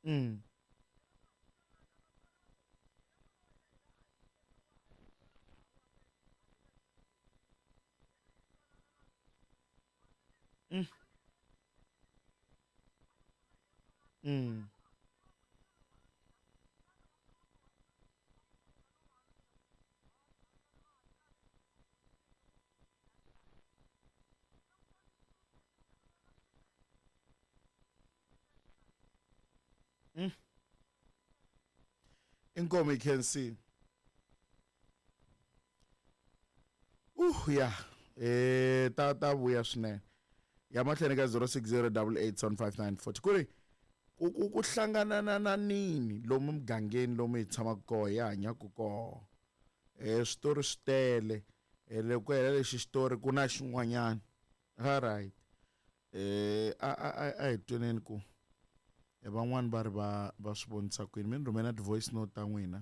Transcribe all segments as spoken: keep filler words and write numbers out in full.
Mm. Mm. Mm. Mm. Inkomo you can see. Uh yeah. Eh ta ta vuya swinene. Ya mahlweni ka zero six zero eight eight seven five nine four. Kuri ku ku ku hlangana na na nini lomu mugangeni lomu hi tshamaka kona hi hanyaka kona. Eh switori swi tele. Eh loko hela lexi xitori ku na xin'wanyana. All right. Eh a a a hi tweneni ku van'wani va ri va va swi vonisa kwini mi ni rhumela ti-voice note ta n'wina.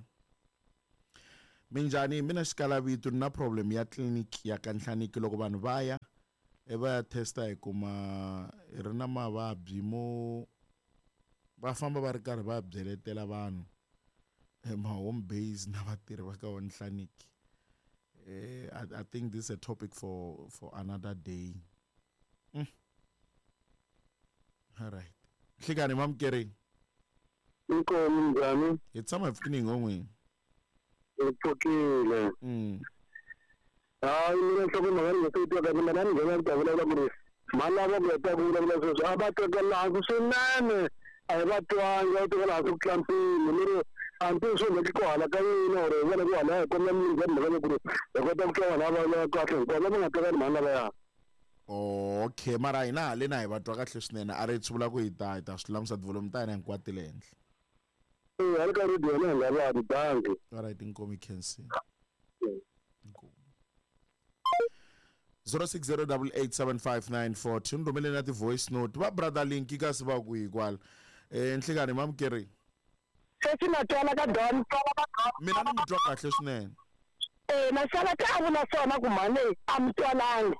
Minjhani mina xikalavito ni na problem ya clinic ya ka Nhlaniki loko vanhu va ya e va ya testa hi kuma hi ri na mavabyi mo va famba va ri karhi va byeletela vanhu ma home base na vatirhi va ka Nhlaniki. Eh I, I think this is a topic for for another day. Mm. All right. Nhlikani mamukeri. Inkomo njhani? Hi tshama hi pfukini ngomweni. Hi pfukile. Mm. Hayi mina nhloko mhaka ni nga se yi twa kahle mina ni nghena ni ta vulavula ku ri mhani lava ku heta ku vulavula sweswi a va tekela hansi swinene a hi va twangi va tekela hansi ku tlula mpimo ni ri a ni tivi swi endleke ku hala ka yini or hi vona ku hala hi kombela mi nghena mhaka ku ri hi kota ku twa vanhu lava vulavula kahle hinkwavo lava nga tekani mhani lavaya. Okay mara hina haleni a hi va twa kahle swinene a ri swi vula ku hi ta hi ta swi lulamisa tivholomu ta hina hinkwato ti le henhla. Eh hala ka radio hina hi nga va bangi. All right inkomo you can see. Inkomo. zero six zero eight eight seven five nine four two ni rhumele na ti-voice note va brother link kasi va ku hi kwala. Eh nhlikani mamukeri. Sesi na twala ka Don. Mina ni mi twa kahle swinene. Eh na sala ka a vula swona ku mhani a mi twalangi.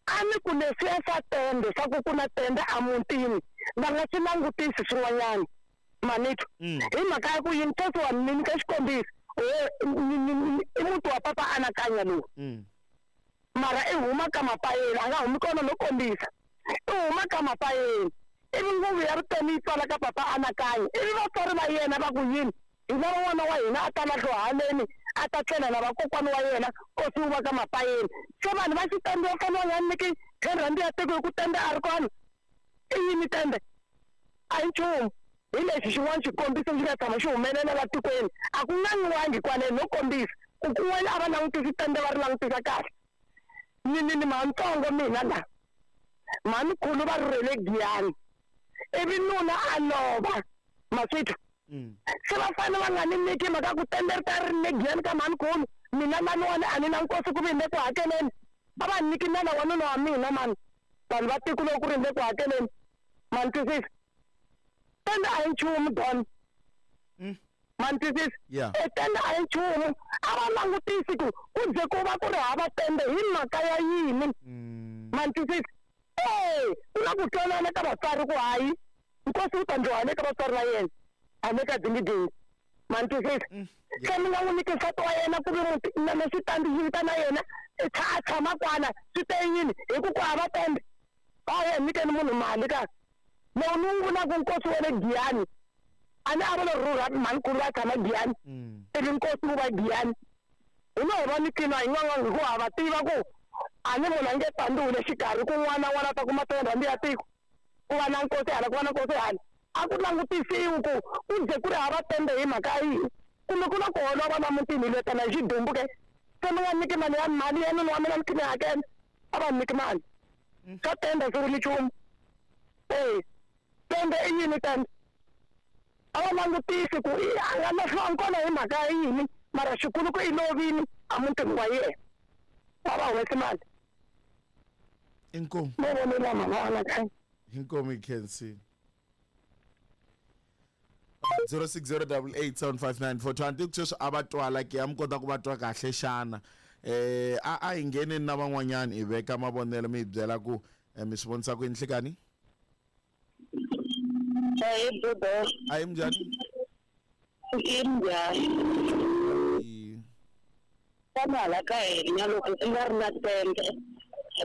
A ni ku leswiya swa tende swa ku ku na tende emutini va nga swi langutisi swin'wanyana manitwa. Hi mhaka ya ku yini sesi wa ni nyika xikombiso i muti wa papa anakanya lowu. Mara i huma ka mapayeni a nga humi kona no kombisa i huma ka mapayeni ivi nguvu ya vutomi yi tswala ka papa anakanya ivi vatswari va yena va ku yini hi lava n'wana wa hina a ta lahliwa haleni a ta tlela na vakokwani wa yena nkosi wu va ka mapayeni se vanhu va xitende va fanele va nga nyiki ten rand ya tiko hi ku tende a ri kona i yini tende a hi nchumu hi lexi xin'wana xikombiso xi nga tshama xi humelela la tikweni a ku ngangiwangi kwaleni no kombisa ku kun'wana a va langutisi tende va ri langutisa kahle ni ni ni mantsongo mina la mhanikhulu va rhurhele Giyani ivi nuna a lova maswithu se va fanele va nga ni nyiki mhaka ku tende ri ta ri le Giyani ka mhanikhulu mina laniwani a ni na nkosi ku vi ni le ku hakeleni va va nyiki nala wa nuna wa mina mani vanhu va tiko loko ku ri ni le ku hakeleni ma ni twisisa tende a hi nchumu Don ma ni twisisa e tende a hi nchumu a va langutisi ku ku ze ku va ku ri hava tende hi mhaka ya yini ma ni twisisa e ku na ku twanana ka vatswari ku hayi nkosi wu ta ndliwa hale ka vatswari va yena hale ka dingidingi ma ni twisisa se mi nga n'wi nyiki nsati wa yena ku vi muti na xitandi xi vita na yena a tshama kwala swi te yini hi ku ku hava tende a ya nyikeni munhu mali ka lowu ni wu vulaka nkosi wa le Giyani a ni a va lo rhurha mhanikhulu va tshama Giyani ivi nkosi wu va Giyani hi no hi va nikini hi n'wan'wangi hikuva ha va tiva ku a ni munhu a nge pandziwi le xikarhi ku n'wana n'wana ta kuma ten rand ya tiko ku va na nkosi hala ku va na nkosi hala a ku langutisiwi ku ku ze ku ri hava tende hi mhaka yihi kumbe ku na ku holova la mutini hi lwetana hi xidumbu ke se mi nga nyiki mali ya mali ya nuna wa mina ni khe ni hakela a va nyiki mali swa tende swi vuli nchumu e tende i yini tende a va langutisi ku i a nga lahliwangi kona hi mhaka ya yini mara xikulu ku i lovini emutini wa yena a va humesi mali. Inkomu mo vonela mhana anakanya. Inkomu you can see. zero six zero eight eight seven five nine four two anti sweswi a va twala ke ya mi kota ku va twa kahle xana eh a a hi ngheneni na van'wanyana hi veka mavonelo mi hi byela ku mi swi vonisa ku yini nhlikani. Ahee budo. Ayi minjhani? I minjhani? I- Tana hala ka hina loko ku nga ri na tende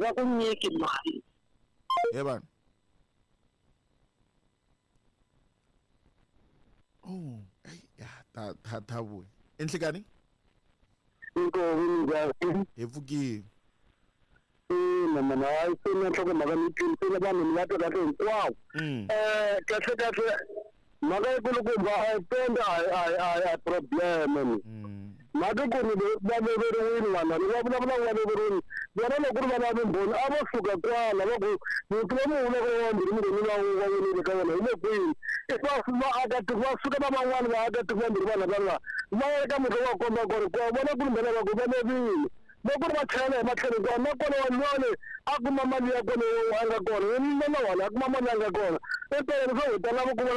va ku nyiki mali. He vanhu. Oh, ai ya ta ta ta vuya. Enhlekani? Inkomu minjhani? Hi pfukile. Ina mana hayi se na nhlokomhaka ni twisile vanhu ni va twa kahle hinkwavo. Mm. Eh kahle kahle mhaka yikulukumba a yi tende a yi- a yi- a yi- a yi problem ni. Mm. Mhaka ku ni va loveriwile vanhu lava va vulavula va loveriwile vona loko ku ri vana va vumbhoni a vo suka kwala va ku muti lowu mi vulaka wa mbirhi mugoni va va welile ka wona hi le kwini i va vaakatiko va suka va van'wani vaakatiko vambirhi vanhu lava va ya eka muti wa komba ku ri kwa vona ku ri mbhela va ku va lovile loko ri va chayela hi matlhelo hinkwawo na kona wanwani a kuma mali ya kona a nga kona na wona a kuma mali ya nga kona empeleni swo hi ta lava ku vona.